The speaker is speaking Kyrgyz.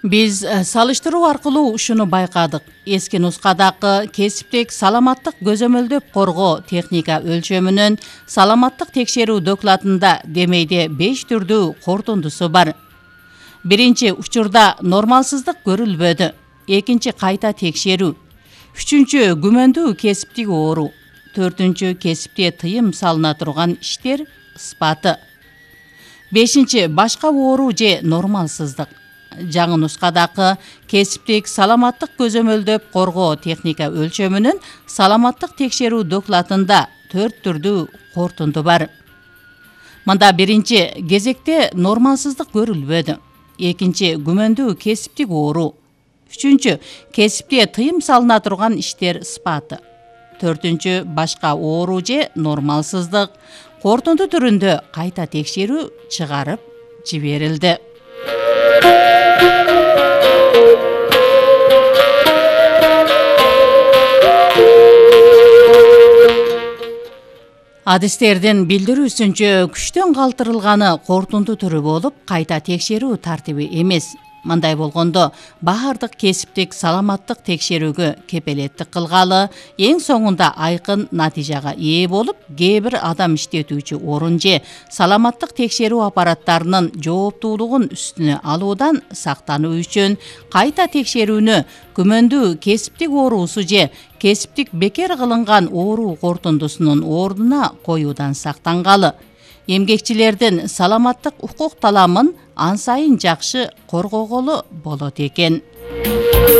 Биз салыштыруу аркылуу ушуну байкадык. Эски нускадагы кесиптик саламаттык көзөмөлдөп коргоо техника өлчөмүнүн саламаттык текшерүү докладында демейде 5 түрдүү кортундусу бар. Биринчи учурда нормалсыздык көрүлбөдү. Экинчи кайта текшерүү. Үчүнчү күмөндүү кесиптик оору. Төртүнчү кесипте тыйым салына турган иштер ыспаты. Бешинчи башка оору же нормалсыздык. Жаңы нускадагы кесиптик саламаттык көзөмөлдөп коргоо техника өлчөмүнүн саламаттык текшерүү докладында 4 түрдүү кортунду бар. Мында биринчи кезекте нормалсыздык көрүлбөдү. Экинчи күмөндүү кесиптик оору. Үчүнчү кесипте тыйым салына турган иштер ыспаты. Төртүнчү башка оору же нормалсыздык. Кортунду түрүндө кайта текшерүү чыгарып жиберилди. Адистердин билдирүүсүнчө күчтөн калтырылганы кортунду түрү болуп, кайта текшерүү тартиби эмес. Мындай болгондо баардык кесиптик саламаттык текшерүүгө кепелеттик кылгалы, эң соңунда айкын натыйжага ээ болуп, кээ бир адам иштетүүчү орун же саламаттык текшерүү аппараттарынын жооптуулугун үстүнө алуудан сактануу үчүн кайта текшерүүнү күмөндүү кесиптик оорусу же кесиптик бекер кылынган оору кортундусунун ордуна коюудан сактангалы. Эмгекчилердин саламаттык укук таламын ан сайын жакшы коргоголу болот экен.